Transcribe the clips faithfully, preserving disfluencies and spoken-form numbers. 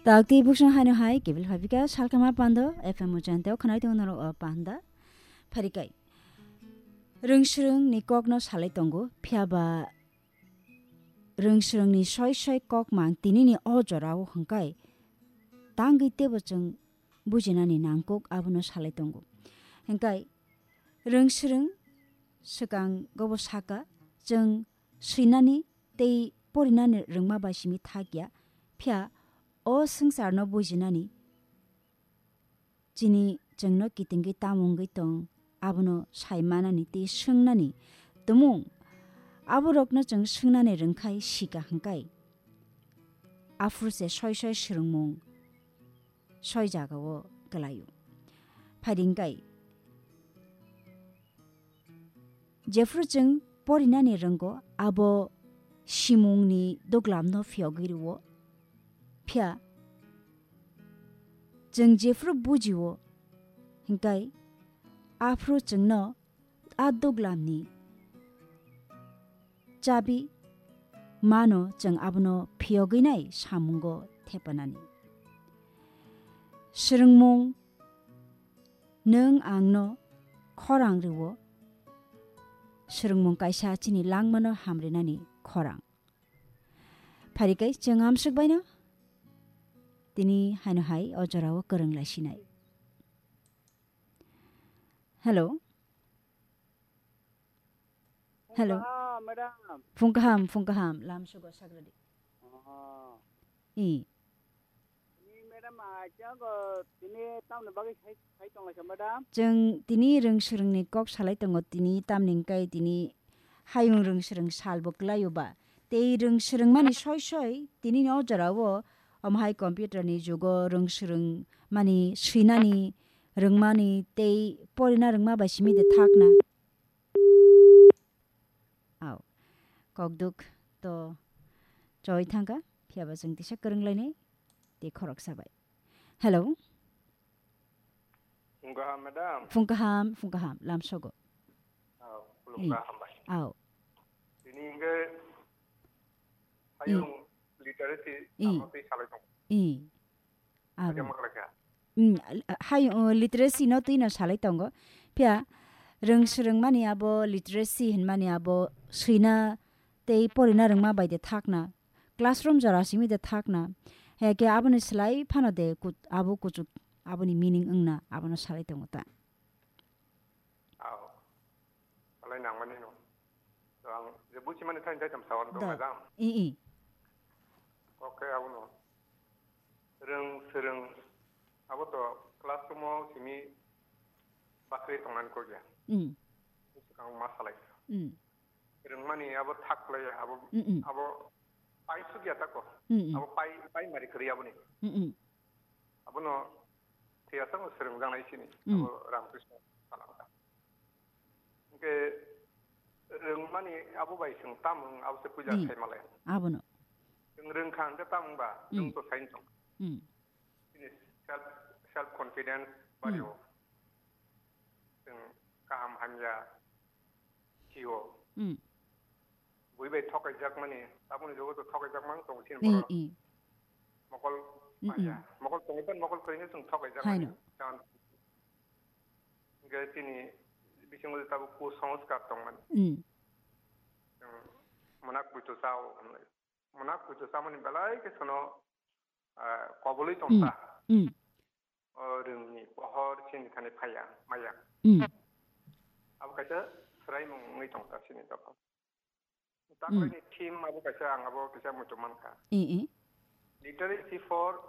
Takti buksong haino hai kebil phabika salkama pando F M o janteo khanai tongo norok o panda. Pharikai. Rwngswrwng ni kokno salai tongo, phiya ba rwngswrwng ni soi soi kok mang tini ni o jora o hwngkai tangwi tebo chwng bujinani nangkuk abono salai tongo. Hwngkai rwngswrwng swkang gobo saka chwng swinani tei porinani rwngma bai simi thakya, phiya o swngcharno bujinani chini chwngno kitingwi tamo wngwi tong, abono sai manani tei swngnani tumung aborokno chwng swngnani rwngkhai sika hwngkai. Aphuru se soi soi swrwngmung soi jagao kwlaio. Phaidi hwngkai Jephru chwng porinani rwngo, abo simungni duglamno phiyogwi rwo. Phiya chwng jephru bujio, hwnkhe aphru chwngno a duglamni chabi mano, chwng abono phiyogwi nai samungo thepanani. Swrwngmung Nwng angno khorang rwo, swrwngmung kaisa chini langmano hamrinani khorang. Pharikai chwng amswk baino tini haino hai o jorao kwrwng lai sinai. Hello. Hello. Phung kaham, madam. Phung kaham, phung kaham, lam sugo sagradi. Oh. I. Ni madam, ah, chang, uh, tini tamni bagwi sai, sai tong lai kha, madam? Chwng tini rwng swrwngni kok salai tongo, tini tamni hwnkhe tini hayung rwng swrwng salbo kwlaio ba. Tei rwng swrwngmani soi soi tini o jorao omo hai computer ni jugo rwng swrwngmani swinani rwngmani tei porina rwngma bai simi de thakna. Au. Kokduk to choi thangkha, phiya ba chwng tisa kwrwng lainai tei khoroksa bai. Hello. Phung kaham, madam. Phung kaham, phung kaham, lam sogo. Au, khulum I. Kaham bai. Au. Tini hwnkhe I. Hayung literacy I. Amo twi salai tong. I. Abo. Kaijakma khlai kha. Mm, al-, hai, uh, literacy no twi no salai tongo. Phiya rwng swrwngmani abo literacy hinmani abo swina tei porina rwngma bai de thakna. Classroom jora simi de thakna. He ke aboni slai phano de kut-, abo kuchuk aboni meaning wngna abono salai tongo ta. Aw. Alai nangmani no. To ang je buchimani thani jaitam sawan dong Da. Ajam. I, i. Okay, abono. Rwng swrwng abo to classroom o simi bakri tongnan kogya. Mm. Swkang ma salai. Mm. Rwngmani abo thak lai abo, Mm, mm. Abo pai sugya tako. Mm, mm. Abo pai, pai mari kri aboni. Mm, mm. Abono thiyasa no swrwngjaknai sini, Mm. Abo Ramakrishna salaka. Hwnkhe rwngmani abo bai chwng tamung abo se puja Mm. Sai malai. Abono. Chwng rwngkha hwnkhe tamung ba, Mm. Chwng to saino tong. Mm. Chini self, self confidence Mm. Bario. Chwng kaham hamya sio. Mm. Bui bai thokaijakmani, tabukni jugo to thokaijakmani tongo chini I, borok. I. Mokol Mm, maya. Mm. Mokol tongwi tong, mokol kwrwini chwng thokaijakmani. Haino. Chang-, hwnkhe chini bisingo tabuk kusanskar tongmani. Mm. Chwng mwnakgwi to chao hwnlai. Mwnakgwi to chamani belai khe sono, ah, kobului Mm. Tongsa. Mm. O rwngni pohor chini thani phaiya, maya. Mm. Abo kaisa swraimung wngwi tong ta chini dophano. Mm. Takhwlaini theme abo kaisa, ang abo kisa muitu mankha. I, i. Literacy for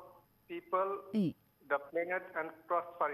people, I. The planet and prosperity.